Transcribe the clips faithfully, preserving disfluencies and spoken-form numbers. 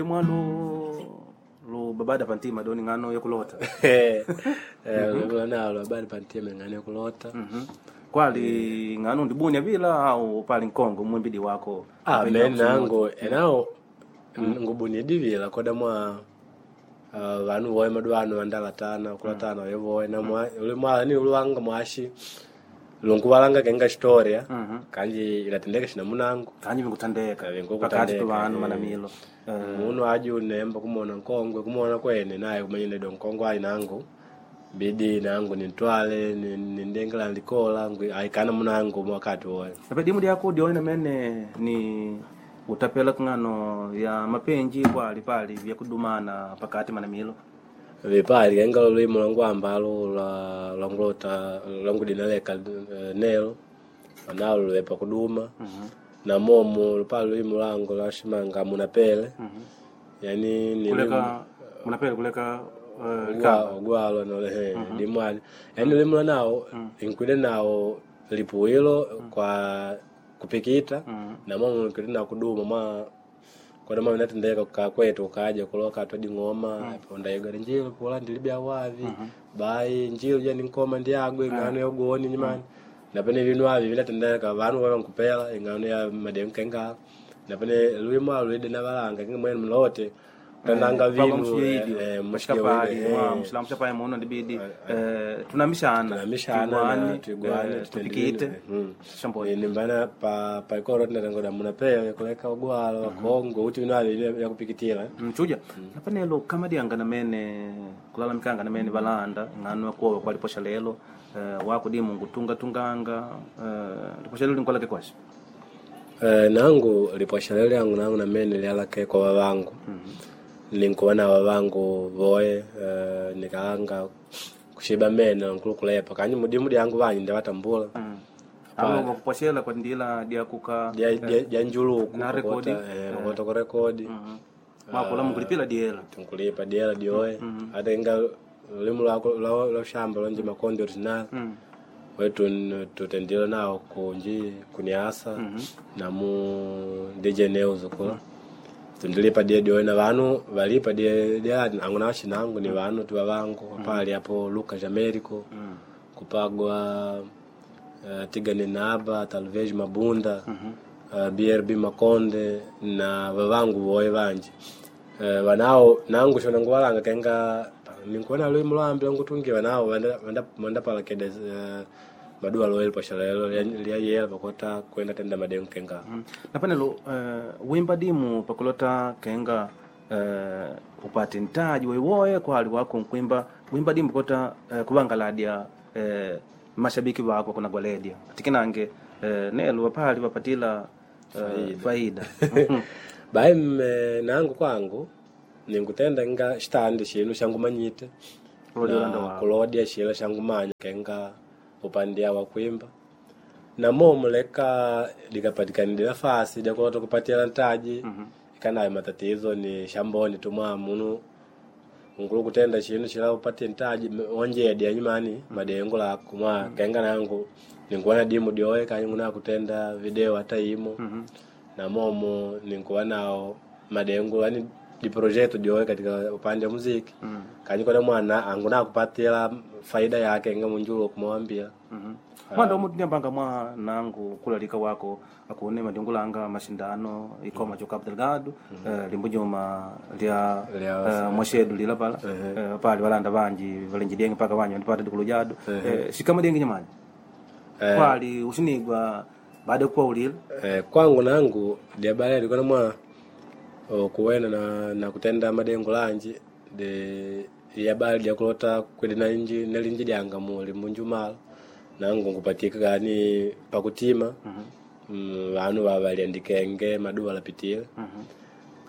Mwalu lu babada pantima doni ng'ano yokulota. Eh, lula nalo habari pantima ng'ano yokulota. Mhm. Kwali ng'ano ndibunya bila au pali nkongo mwimbidi wako. Ah, Apenda me kusunota. nangu enawo ngubunidivila koda mwa ah, vanu voe maduanu vandalatana kulatana vevoe na mwa uli mwa ni uluwanga mwashi lunkuvalanga kenga storia kanji ilatendeka shina munangu Kanyi vingutandeka. Vingukutandeka, Pakati tu vanu eh. manamilo. Eh, munu aji unemba kumona nkongwe kumona kwene naye kumanyile do nkongwe ali nangu bidi nangu nintwale ni- nindengela likola ngwi- aikana munangu mwakati woe Nape dimu lyako dione mene ni utapela kung'ano ya mapenji kwali pali vyakudumana pakati manamilo. vipali kenga lulimi lwangu ambalo lwa lwangulota lwangudinaleka eh, nelo nalo luwepa kuduma na momo lupali lulimi lwangu lwashimanga munapele yani ni Kuleka munapele kuleka eh, likamba. ogwalo nolehe dimwali yani lulimi lwa nawo inkwide nawo lipuwilo kwa kupikita na momo inkwide nawo kuduma mwa koda mwa vinatendeka kukaa kwetu ukaja kuloka twadi ng'oma pondaigala njilu pula ndilibya wavi bai njilu ja ninkoma ndiagwe ing'ano yogoni nyimani napene vinu avi vinatendeka vanu vava nkupela ing'ano ya mademu kenga napene luimu alu luide na valanga kinga mwene mlote kutandanga Papa vinu mshiidi eh, mshikapali eh, mwa mshilamu chapaye muno ndibidi eh, tunamishana tunamishana na tuigwane, tuigwane eh, tutendile tupikite vinu. Mm. shamboni nimbana pa paikoro tinatangoda munapele kuleka ogwalo wakongwe uti vinu avi vyakupikitila mchuja napanelo kamadianga namene kulalamikanga namene valanda ng'ano yakuwa kwaliposha lelo eh, wakudimu ngutungatunganga eh, liposha lelo linkolake kwasha Eh, nangu lipwasha lyangu nangu namene lyalake kwa vavangu ninkuva na vavangu voe eh, nikalanga kushiba mene nkulukulepa kanyi mudimu dyangu vanyi ndavatambula avo vakuposhela kwa ndila dyakuka dya- dya dya njuluku Na rekodi. pakota kurekodi mwakula mukulipila diela tunkulipa diela dyoe ata inga lulimu lwako lwa lwa shamba lonje makondi original wetu tutendile nawo kunji kuniasa na mu D J News kula tundilipa die dyoe na vanu valipa die die angu nawashinangu ni vanu tuwa vangu pali apo Luka Jamerico kupagwa uh, Tigane Naba Talvez Mabunda uh, B R B Makonde na vavangu voe vanji uh, vanao nangu shona nguvalanga kenga ninkuona luimu lwambi lwangutungi vanao vanda- vanda- vandapalakeda uh, maduwa loeli pashalelo lyayela pakota kwenda tenda madengu kenga Mm. napanelo uh, wimba dimu pakulota kenga uh, upate ntaji woiwoye kwali wako nkwimba wimba dimu kota uh, kuvangaladya uh, mashabiki wako kunagwaledya tikinange uh, nelo wapali wapatila uh, faida bai mme nangu kwangu ninkutenda nga xitandi xilo xangumanyite Kulodya na ulanda wako. kulodya xilo xangumanya kenga upandia wa kuimba na momo leka likapatikanile nafasi lyakulota kupatila ntaji ikanayo matatizo ni shamboni tumwa munu nkulu kutenda xinu xila upatie ntaji onjedi anyumani madengo lako mwa kenga nangu ninkuwa dimu dyoe kanyi nguna kutenda video hata imo na momo ninkuwa nao madengo yani di projeto dyoe katika upande wa muziki kanyi kona mwana anguna kupatila faida yake nga munjulo kumwambia mm mwanda omu tinyambanga mwa nangu kulalika wako akune madingulanga mashindano ikoma cho Cabo Delgado eh, limbunyuma lya Lya- eh, mwashedu lila pala eh, pali valanda vanji valenji denge paka vanji vandipata dikulu jadu eh, shikama denge nyamani kwali ushinigwa baada ya kuwa ulila Eh, kwangu nangu diabali alikuwa mwa o, kuwena na, na kutenda madengo lanji de yabali dyakulota kwedi na inji nelinji dyanga muli munjumala nangu ngupatika kani pakutima mm, vanu vavaliandikenge maduwa lapitile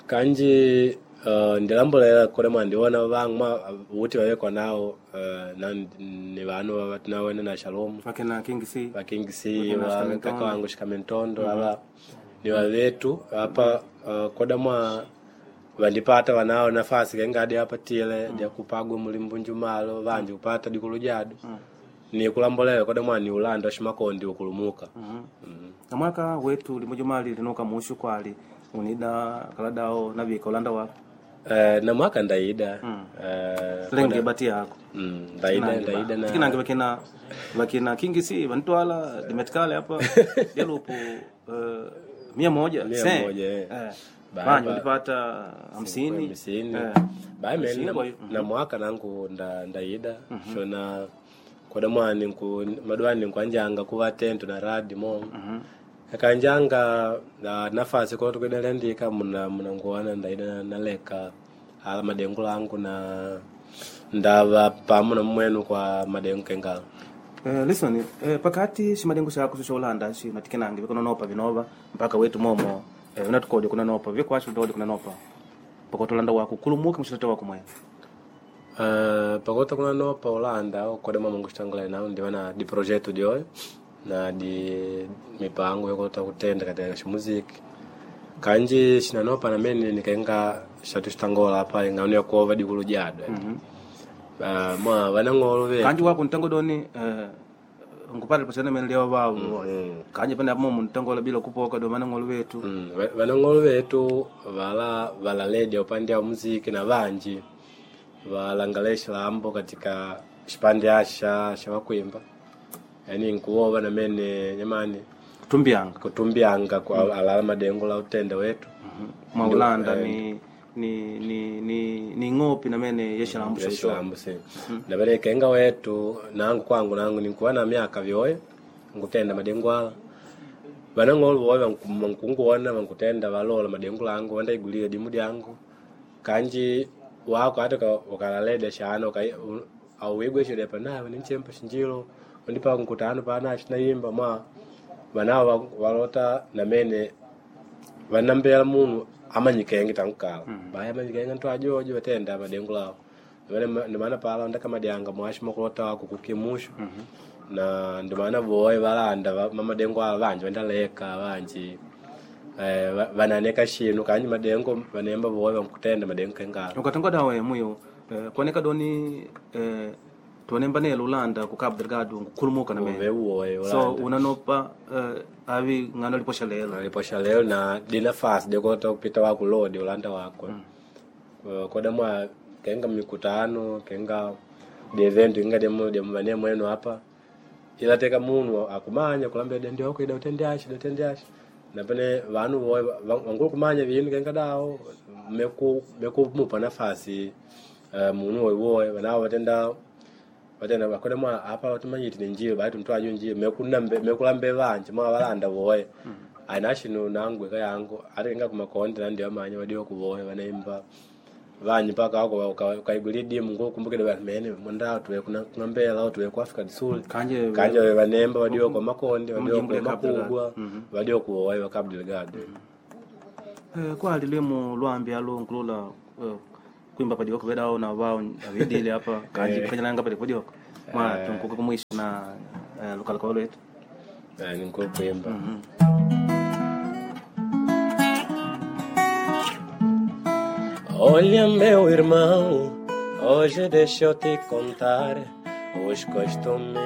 kanji uh, ndilambolela kule mwa ndiona vangu mwa uti vavekwa nao uh, na ni vanu vatinawene na Shalom vakina King C vaking C wa kaka wangu shikamentondo ava ni wavetu apa uh, koda mwa vandipata vanao nafasi kengadi apatile mm. dyakupagwa mulimbunjumalo vanji kupata dikulu jadu ni kulambolela koda mwa ni ulanda shimakondi ukulumuka na mwaka wetu limujumali linuka mushu kwali Unida kaladao navika ulanda wako. Eh, na mwaka ndaida Mm. Eh, Lenge koda- bati yako. Mm, ndaida ndaida na Tikinange vakina vakina kingi si vantwala dimetikale hapa delupu eh, mia moja Mia se. moja, eh. Eh. Ba- Banyu ba- ndipata hamsini. hamsini. Eh. Bayi mene Hamsini na, kwa hiyo. na mwaka nangu nda, ndaida shona koda mwani nku madwani nkwanjanga kuva tento na radi mo akanjanga na nafasi kola tukwidalendika muna muna nguwana ndaida na- naleka ala madengu langu na ndava pamu na mmwenu kwa madengu kengala. Eh, listen, eh, pakati ximadengu xako xo ulanda xi natikinange vikunonopa vinova mpaka wetu momo eh, unatukodi kunanopa vikwasho utodi kunanopa pakati ulanda wako kulumuka muxilete wako mwene. Uh, pakota kuna nopa Holanda koda mwa Mungu xitangula nao ndiva na di projeto dioyo na di mipango yokota kutenda katika ximuziki kanji xinanopa namene nikaenga xatu xitangola apa ing'ano yakuova dikulu jadwe. Uh, mwa vanang'olo ve Kanji wako ntango doni eh, nkupata pasana mene leo vavo kanji pane apo momo ntangola bila kupoka do manang'olo wetu. Mm, va- vanang'olo vetu vala valaledia upande wa muziki na vanji valangale xilambo katika xipande axa xa vakuimba, yani nkuwova namene nyamani Kutumbianga kutumbianga kwa alala madengo la utende wetu. mwa ulanda ni ni ni ni ni ng'opi namene yexalambu xo Xilambo si naveleka inga wetu nangu kwangu nangu ninkuva na myaka vyoye nkutenda madengo ala vanang'olo voye vankunguona vankutenda valola madengo langu vandaigulia dimu dyangu kanji wako hata uka- ukalaleda shana uka- u- auwigwe shida pana ninchempa shinjilo undipa nkutano pana xinayimba mwa vanavo va- valota namene vanambela munu amanyikenge tankukala baya amanyikenge ntu ajojo vatenda madengu lawo ndimana pala ndakamadyanga mwashi makulota wako kukimushu na ndimana voye valanda va- mamadengu ala vanji vandaleka vanji eh, va- vananeka xinu kanji madengo vanemba voye vankutenda madengo kengala. Ukatonga dawe muyo eh, kuoneka doni eh, tuonemba nelo ulanda ku Cabo Delgado nkukhulumuka namene Veuwoye so unanopa eh, avi ng'ano liposha lelo. Aliposha leo na dinafasi dekota kupita wako lodi ulanda wakwe mm. Koda mwa kenga mikutano kenga de event inga demu demu vane mwenu hapa ila teka munu akumanya kulambia dende wako ida utende ashi utende ashi na pene vanu voye wangulu kumanya vinu kenga dao meku meku mupa nafasi uh, munu woiwoye vanao vatenda vatenda vakoda mwa apa vatumanyiti ni njio bati mtu ajo njio mekunambe mekulambe vanje mwa valanda voye aina shinu nangu eka yangu ati kenga kumakonde nandi vamanya vadiwa kuvoye vanaimba vanyi mpaka wako ukaigulia dimu ngukumbukile vanhu mene mwenda tuwe kuna kuna tuwe ku Africa du Sul Kanje kanje vanemba vadiwa kwa makonde vadiwa Mjimbo kwa ya Cabo Delgado. makubwa vadiwa kuvoye wa Cabo Delgado. Eh, kwali limu lwambi alo nkulula eh, kuimba padikoko vedao na wao avidile hapa kanji kanyalanga padikoko mwa tunkuka kumwisho na eh, lukalako lwetu. Eh, ni nkulu kuimba. Olha, meu irmão, hoje deixa eu te contar os costumes.